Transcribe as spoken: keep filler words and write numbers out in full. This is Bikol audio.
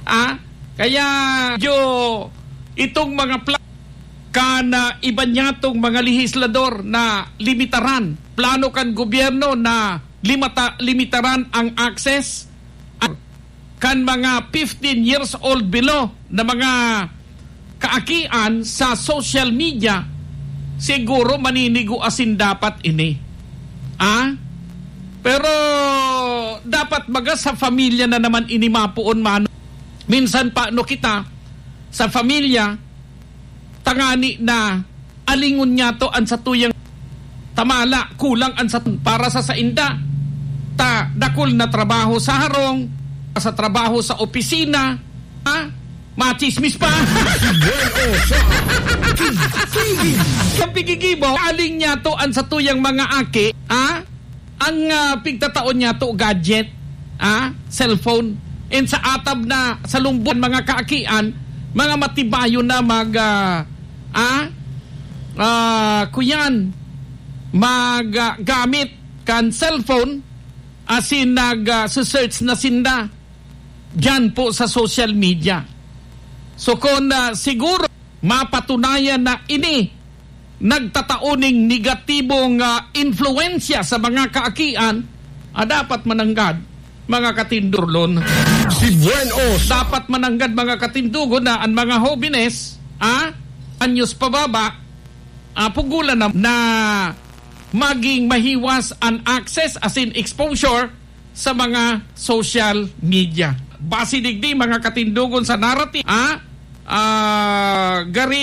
Ah, kaya medyo itong mga pla-, kan, ah, iba niyatong mga lehislador na limitaran, plano kan gobyerno na limata-, limitaran ang access kan mga fifteen years old below na mga kaakian sa social media, siguro maninigo asin dapat ini. Ah? Pero dapat baga sa pamilya na naman ini mapoon, mano. Minsan pa, no, kita sa pamilya, tangani na alingon niyato an satuyang tamala, kulang an satuyang para sa sainda. Ta, dakul na trabaho sa harong, sa trabaho sa opisina, ha? Machismis pa. Sa pigigibo, aling niyato an satuyang mga aki, ha? Ang, ah, pigtatao niyato, gadget, ah, cellphone. And sa atab na, sa lumbon, mga kaakian, mga matibayo na mag, ah, ah, ah, kuyan, mag, ah, gamit kan cellphone, asin nag, ah, search na sinda diyan po sa social media. So, kung, ah, siguro mapatunayan na ini nagtatao ning negatibong, ah, influensya sa mga kaakian, ah, dapat mananggad, mga katindurlon. Si Buen Os. Dapat mananggad, mga katindugon, na ang mga hobenes, ah, anyos pababa, ah, pugulan na, na maging mahiwas an access, asin exposure, sa mga social media. Base digdi, mga katindugon, sa narrative, ah, ah, gari